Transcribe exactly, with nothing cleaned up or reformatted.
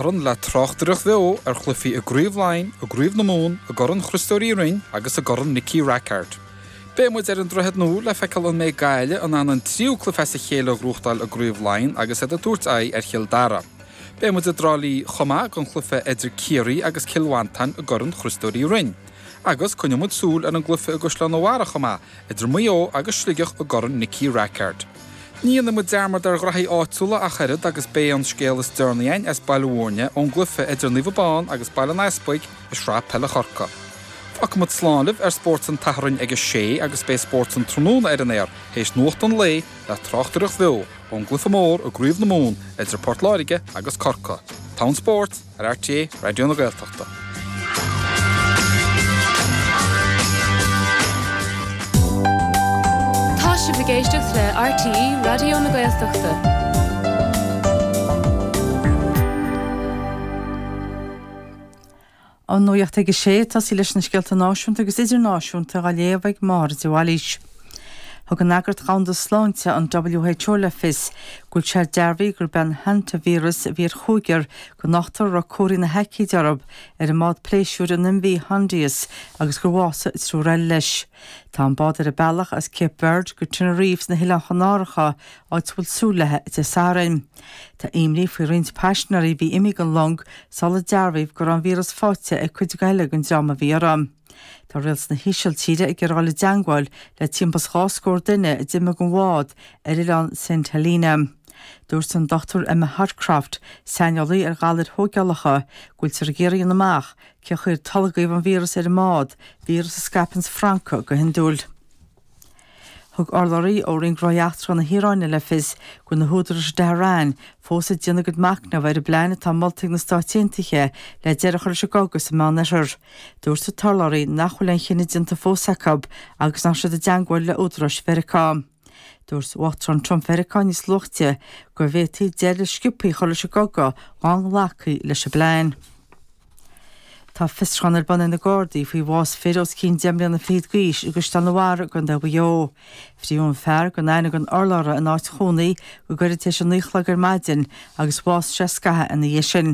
Satharn le tráchtaireacht bheo ar chluichí i gCraobh Laighean, i gCraobh na Mumhan, i gCorn Chriostóir Uí Rinn agus i gCorn Nicky Rackard. Beidh muid ar an Droichead Nua le feiceáil an mbeidh Gaillimh in ann an tríú cluiche as a chéile a ghnóthachtáil i gCraobh Laighean agus iad ag tabhairt aghaidh ar Chill Dara. Beidh muid i dTrá Lí chomh maith don chluiche idir Ciarraí agus Cill Mhantáin i gCorn Chriostóir Uí Rinn. Agus coinneoidh muid súil ar an gcluiche i gCaisleán an Bharraigh chomh maith, idir Maigh Eo agus Sligeach i gCorn Nicky Rackard. Ní dhéanfaidh muid dearmad ar ghraithí áitiúla ach oiread agus beidh an scéal is deireanaí againn as Baile Mhúirne ón gcluiche idir Naomh Abán agus Baile an Easpaig i Sraith Peile Chorcaí. Fágfaidh muid slán libh ar Spórt an tSathairn ag a sé agus beidh Spórt an Tráthnóna ar an aer théis nuacht an lae le tráchtaireacht bheo ón gcluiche mór i gCraobh na Mumhan idir Port Láirge agus Corcaigh. Tonn Spóirt ar RTÉ Raidió na Gaeltachta. Tá sibh ag éisteacht le RTÉ Raidió na Gaeltachta. An nuacht ag a sé, tosaí leis na scéalta náisiúnta agus idirnáisiúnta á léamh ag Máire de Bhailís. Thug an Eagraíocht Dhomhanda Sláinte, an WHO, le fios go bhfuil sé dearbhaithe gurb é an hantavíreas a bhí ar chúigear den ochtar a raibh comharthaí na haicíde orthu ar an mbád pléisiúir an MV Hondius agus gur bhásaigh triúr eile leis. Tá an bád ar a bealach as Cape Verde go Tenerife sna hOileáin Chanáracha, áit a bhfuil súil léi Dé Sathairn. Tá imní faoi roinnt paisinéirí a bhí imithe den long sular dearbhaíodh go raibh an víreas faighte ag cuid eile den dream a bhí uirthi. Tá rialtas na hÍsiltíre ag iarraidh dul i dteangmháil le timpeall is dhá scór duine a d'imigh den bhád ar oileán Saint Helena. Dúirt an Dochtúir Emma Hodcroft, saineolaí ar ghalair thógálacha, go bhfuiltear ag iarraidh a dhéanamh amach cén chaoi ar tolgadh an víreas ar an mbád, víreas a scaipeanns francaigh go hiondúil. Thug urlabhraí ó Roinn Gnóthaí Eachtracha na hIaráine le fios go bhfuil na húdaráis i dTehran fós ag déanamh a gcuid machnaimh ar an bplean atá molta ag na Stáit Aontaithe le deireadh a chur leis an gcogadh sa Meánoirthear. Dúirt an t-urlabhraí nach bhfuil aon chinneadh déanta fós acu agus nach raibh siad i dteangmháil le údaráis Mheiriceá. Dúirt Uachtarán Trump Mheiriceá níos luaithe go bhféadfaí deireadh sciobtha a chur leis an gcogadh dá nglacfaí leis an bplean. Tá fiosrúchán ar bun ag na Gardaí faoi bhás fir os cionn deich mbliana fichead d'aois i gCaisleán an Bharraigh i gContae Mhaigh Eo. Frítheadh an fear gan aithne don urlabhra ina áit chónaí go gairid tar éis a naoi a chlog ar maidin agus bhásaigh sé scaitheamh ina dhiaidh sin.